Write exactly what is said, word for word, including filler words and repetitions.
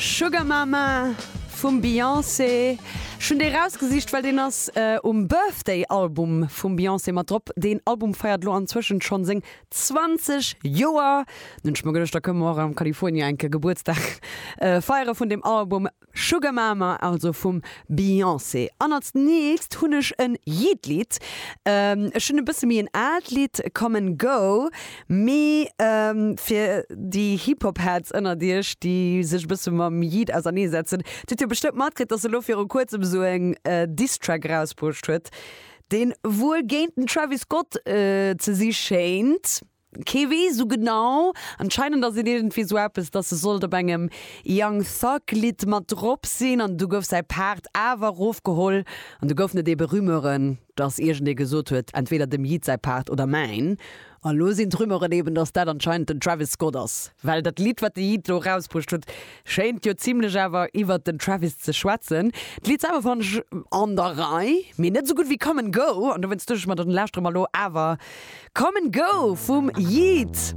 Sugar Mama vum Beyoncé. Ech hunn dee rausgesicht, well deen ass äh, um Birthday-Album vum Beyoncé mat drop. Deen Album feiert lo anzwëschen schonn seng zwanzeg Joer. Nun ech mer geduecht, da kënne mer och am California enke Gebuertsdag äh, feiere vun dem Album Sugar Mama, also vum Beyoncé. An als nächst hunn ech en Yeat-Lidd. Ähm, ech hunn e bësse méi en aalt Lidd, Come and Go, mee ähm, fir déi Hip-Hop-Heads ënnert iech, déi sech e bësse mam Yeat auserneesetzen, déi hutt jo bestëmmt matkritt, dass e lo viru kuerzem esou eng äh, Diss-Track erausbruecht huet, deen wuel géint den Travis Scott äh, ze si schéint. Kee weess sou genau. Anscheinend ass et iergendwéi sou eppes, dass e sollt op engem Young Thug Lidd mat drop sinn an du gouf säi Part awer erofgeholl an du goufen et ebe Rumeuren, dass iergendee gesot huet, entweder dem Yeat säi Part oder mäin. A lo sinn d'Rumeuren eben, dass dat anscheinend den Travis Scott ass. Well dat Lidd, wat de Yeat lo erausbruecht huet, schéint jo zimlech awer iwwert den Travis ze schwätzen. D'Lidd selwer fannen ech an der Rei, mee net sou gutt wéi Come and Go. An dowéinst duecht ech mer, dann lauschtere mer lo awer Come and Go vum Yeat.